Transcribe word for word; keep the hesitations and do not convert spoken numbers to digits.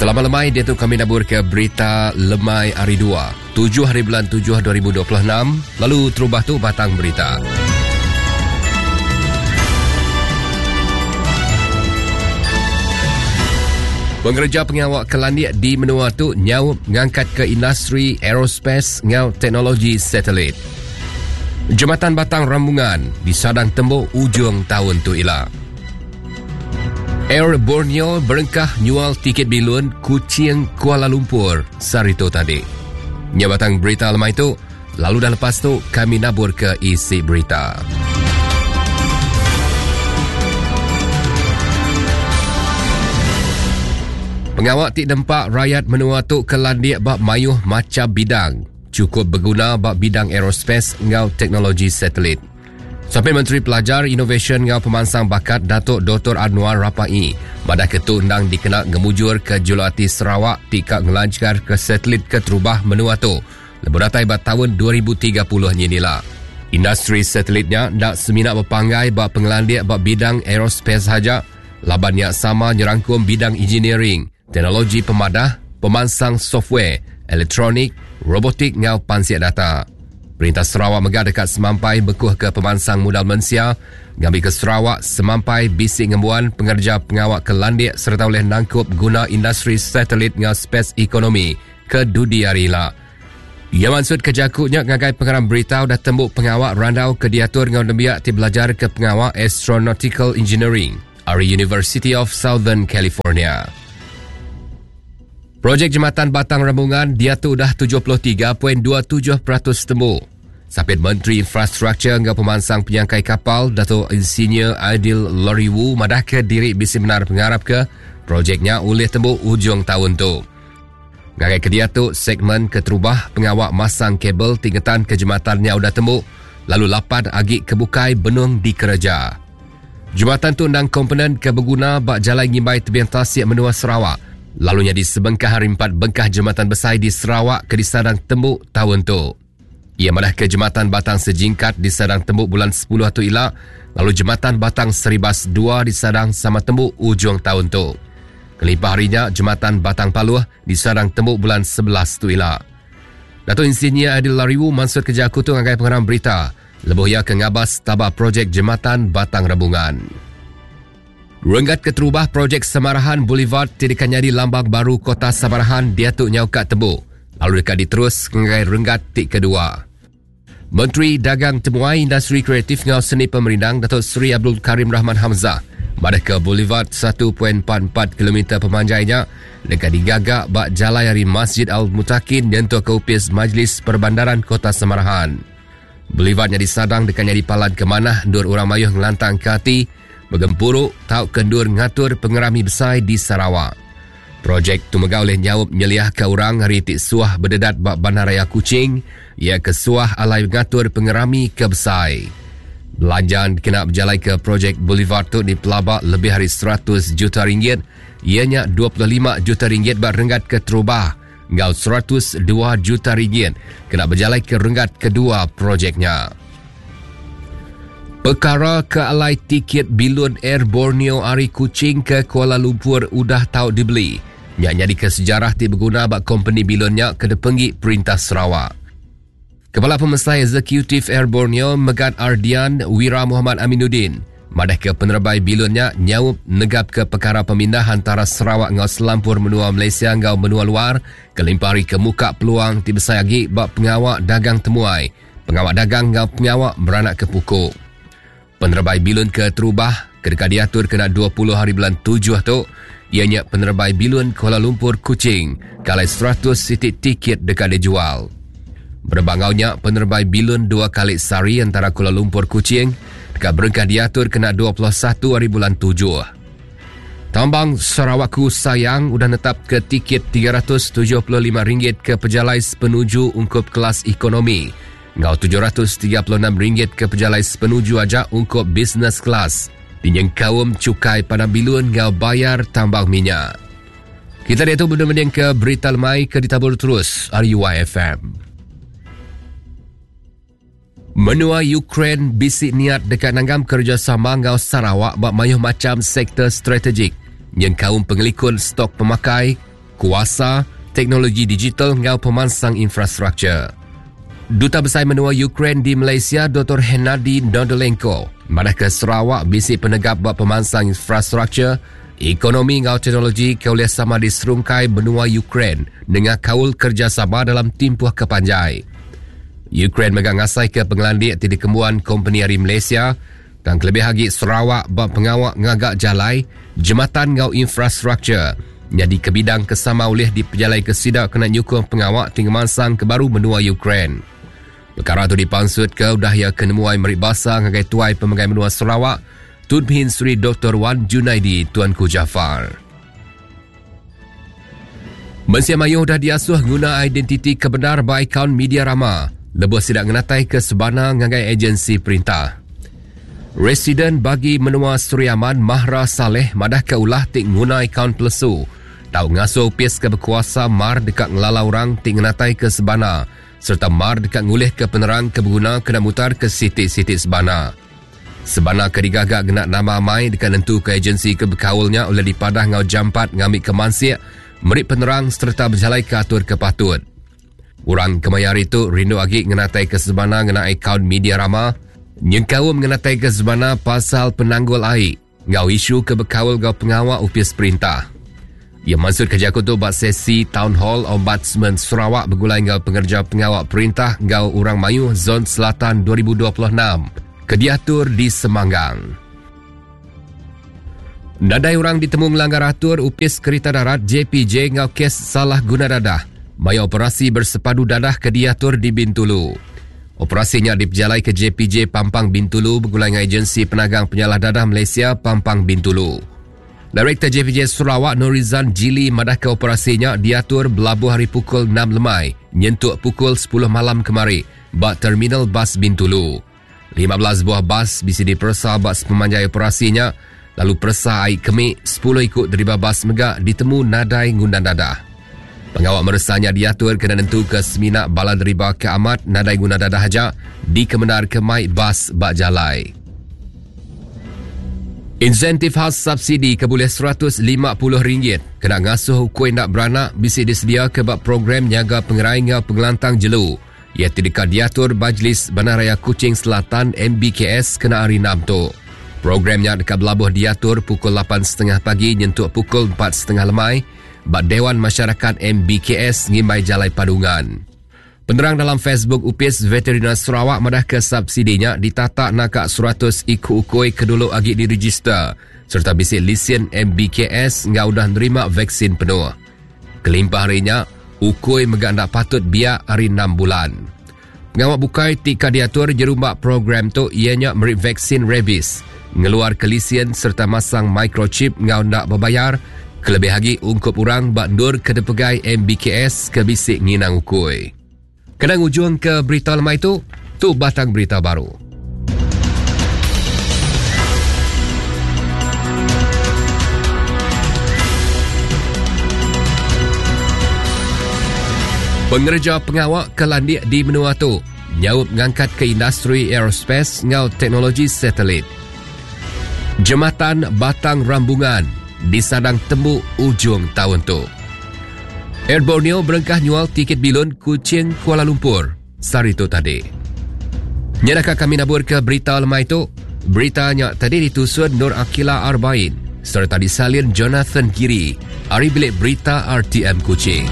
Selamat lemai, dia tu kami nabur ke berita lemai hari dua, tujuh hari bulan tujuh dua ribu dua puluh enam, lalu terubah tu batang berita. Pengerja pengawak kelandik di menua tu nyaup ngangkat ke industri aerospace ngau teknologi satelit. Jembatan Batang Rambungan di Sadang Tembok ujung tahun tu ila. Air Borneo berengkah nyual tiket bilun Kuching Kuala Lumpur sarito tadi. Nya batang berita lemai tu, lalu dah lepas tu kami nabur ke isi berita. Pengawak ti dempak rakyat menua tu kelandik bak mayuh macam bidang. Cukup berguna bak bidang aerospace ngau teknologi satelit. Sampai Menteri Pelajar, Inovasi ngau Pemansang Bakat Datuk Doktor Annuar Rapaee pada ketu endang dikena ngemujur ke Julati Sarawak tika ngelancar ke satelit ke terubah menua tu. Lebuh datai ba tahun dua ribu tiga puluh nyinila. Industri satelitnya ndak semina berpanggai bak pengelandik bak bidang aerospace saja, labannya sama nyerangkum bidang engineering, teknologi pemadah, pemansang software, elektronik, robotik ngau pansiak data. Perintah Sarawak megah dekat semampai bekuh ke pemansang modal manusia, ngambil ke Sarawak semampai bisik ngembuan pengerja pengawak kelandik serta oleh nangkup guna industri satelit ngau space ekonomi ke dudi hari lah. Ia maksud kejakutnya ngagai pengarang berita dah tembuk pengawak randau ke diatur ngau nembiak ti belajar ke pengawak Astronautical Engineering ari University of Southern California. Projek Jembatan Batang Rambungan dia tu dah tujuh puluh tiga perpuluhan dua tujuh peratus temu. Sapit Menteri Infrastruktur ngau Pemansang Penyangkai Kapal Dato' Insinyur Aidil Lariwoo madah ke diri bisi benar pengarap ke projeknya ulih temu ujung tahun tu. Ngagai ke dia tu segmen keterubah pengawak masang kabel tingkatan ke jembatannya udah temu lalu lapan agi kebukai benung dikereja. Jembatan tu endang komponen ke berguna bak jalan ngimbai tebing tasik menua Sarawak. Lalunya di sebengkah hari empat bengkah jembatan besar di Sarawak ke di Sadang Tembuk tahun tu. Ia malah ke jembatan Batang Sejingkat di Sadang Tembuk bulan sepuluh tu ila, lalu jembatan Batang Seribas dua di Sadang sama Tembuk ujung tahun tu. Kelipah harinya jembatan Batang Paluh di Sadang Tembuk bulan sebelas tu ila. Dato' Insinyur Aidil Lariwoo maksud kerja aku tu ngagai pengarang berita. Lebuh ia ke ngabas tabah projek jembatan Batang Rambungan. Renggat keterubah projek Samarahan Boulevard tidak nyadi lambang baru kota Samarahan dia tu nyau kat tebuk. Lalu dekat diterus ngagai renggat tik kedua. Menteri Dagang Temuai Industri Kreatif ngau Seni Pemerindang Datuk Seri Abdul Karim Rahman Hamzah pada ke Boulevard satu perpuluhan empat empat kilometer pemanjainya dekat digagak bak jalan hari Masjid Al-Mutakin nyentuh ke upis Majlis Perbandaran Kota Samarahan. Boulevardnya disadang dekat nyadi palan ke manah dur orang mayuh ngelantang ke hati bergempuruk tau kendur ngatur pengerami besar di Sarawak. Projek tu megah oleh nyaup nyeliah ke orang hari tik suah berdedat bak Bandaraya Kuching, ia ke suah alai ngatur pengerami ke besar. Belanjaan kena berjalai ke projek Boulevard tu di pelabak lebih hari seratus juta ringgit, ianya dua puluh lima juta ringgit bak renggat ke terubah, ngau seratus dua juta ringgit kena berjalai ke renggat kedua projeknya. Perkara ke alai tiket bilun Air Borneo ari Kuching ke Kuala Lumpur udah tau dibeli. Nyak nyadi ke sejarah ti berguna bak company bilunnya ke depenggi Perintah Sarawak. Kepala Pemesai Eksekutif Air Borneo Megat Ardian Wira Muhammad Aminuddin madah ke penerbai bilunnya nyaup negap ke perkara pemindah antara Sarawak ngau selampur menua Malaysia ngau menua luar kelimpari ke muka peluang ti besar lagi bak pengawak dagang temuai, pengawak dagang ngau pengawak beranak ke pukuk. Penerbai bilun ke terubah kedekat diatur kena dua puluh hari bulan tujuh tu ianya penerbai bilun Kuala Lumpur Kuching kalai seratus sitik tiket dekat dijual. Berbangaunya penerbai bilun dua kali sehari antara Kuala Lumpur Kuching dekat berengkah diatur kena dua puluh satu hari bulan tujuh. Tambang Sarawakku sayang udah netap ke tiket tiga ratus tujuh puluh lima ringgit ke pejalai sepenuju ungkup kelas ekonomi. Ngau tujuh ratus tiga puluh enam ringgit ke pejalai sepenuju aja ungkup business class. Dinyeng kaum cukai pada bilun ngau bayar tambang minyak. Kita dia tu benda-benda ke berita lemai ke ditabur terus R U I F M. Menua Ukraine bisik niat dekat nanggam kerjasama ngau Sarawak bak mayuh macam sektor strategik. Yang kaum pengelikun stok pemakai, kuasa, teknologi digital ngau pemansang infrastruktur. Duta Besar Menua Ukraine di Malaysia Doktor Hennady Nodolenko madah ke Sarawak bisi penegap buat pemansang infrastruktur, ekonomi ngau teknologi ke oleh sama di serungkai benua Ukraine dengan kaul kerjasama dalam timpuh kepanjai. Ukraine megang ngasai ke pengelandik ti dikembuan kompeni ari Malaysia dan kelebih lagi Sarawak bab pengawak ngagak jalai, jematan ngau infrastruktur. Jadi ke bidang kesama oleh dipejalai ke sidak kena nyukung pengawak tinggi mansang ke baru menua Ukraine. Perkara tu dipansut ke udah ia kenemuai merik basa ngagai tuai pemegai menua Sarawak, Tun Pehin Sri Doktor Wan Junaidi Tuanku Jaafar. Mensia mayuh dah diasuh guna identiti kebenar ba akaun media rama. Lebuh sidak ngenatai ke sebana ngagai agensi perintah. Residen bagi menua Suriaman Mahra Saleh madah ke ulah tik nguna akaun pelesu. Tau ngasuh upis ke berkuasa mar dekat ngelala orang tik ngenatai ke sebana serta mar dekat ngulih ke penerang ke berguna kena mutar ke sitik-sitik sebana. Sebana ke digagak genak nama mai dekat nentu ke agensi ke berkaulnya oleh dipadah ngau jampat ngambil ke mansik, merik penerang serta berjalai ke atur ke patut. Orang kemayar itu rindu agi ngenatai ke sebana ngena akaun media rama, nyengkau mengenatai ke sebana pasal penanggul air, ngau isu ke berkaul ngau pengawak upis perintah. Ia maksud kerja aku tu buat sesi Town Hall Ombudsman Sarawak bergulai ngau pengerja pengawak perintah ngau orang mayu Zon Selatan dua ribu dua puluh enam kediatur di Semanggang. Nadai orang ditemu melanggar atur upis kereta darat J P J ngau kes salah guna dadah. Maya operasi bersepadu dadah kediatur di Bintulu. Operasinya diperjalai ke J P J Pampang Bintulu bergulai dengan Agensi Penagang Penyalah Dadah Malaysia Pampang Bintulu. Direktur J P J Sarawak Norizan Jili madah ke operasinya diatur belabuh hari pukul enam lemai nyentuk pukul sepuluh malam kemari bak Terminal Bas Bintulu. lima belas buah bas bisa diperesa bak sepemanjai operasinya, lalu peresa air kemik sepuluh ikut deriba bas megak ditemu nadai ngundang dadah. Pengawak meresanya diatur kena nentu ke seminak bala deriba ke amat nadai guna dadah aja di kemenar ke mai bas bak jalai. Insentif khas subsidi ke boleh seratus lima puluh ringgit kena ngasuh ukui nak beranak bisa disedia ke bak program nyaga pengerai ngau pengelantang jelu. Ia tidak diatur Majlis Bandaraya Kuching Selatan M B K S kena hari enam tu. Programnya dekat belabuh diatur pukul lapan setengah pagi nyentuk pukul empat setengah lemai bak Dewan Masyarakat M B K S ngimbai Jalai Padungan. Penerang dalam Facebook Upis Veterinar Sarawak madah ke subsidinya ditatak nakak seratus iku ukui kedulu agi diregister serta bisik lisen M B K S ngau dah nerima vaksin penuh. Kelimpah harinya, ukui megak ndak patut biak hari enam bulan. Pengawak bukai tika diatur jerumbak program tu ianya merik vaksin rabies, ngeluar kelisian serta masang microchip ngau ndak berbayar. Kelebih lagi ungkup orang bak ndur kedepegai M B K S ke bisik nginang ukui. Kadang ujung ke berita lemai tu, tu batang berita baru. Pengerja pengawak kelandik di menua tu nyaup ngangkat ke industri aerospace ngau teknologi satelit. Jematan Batang Rambungan disadang temu ujung tahun tu. Air Borneo berengkah nyual tiket bilun Kuching Kuala Lumpur sehari tu tadi. Nyadakah kami nabur ke berita lemai tu? Beritanya tadi ditusun Nur Akila Arbain serta disalin Jonathan Giri. Ari bilik berita R T M Kuching.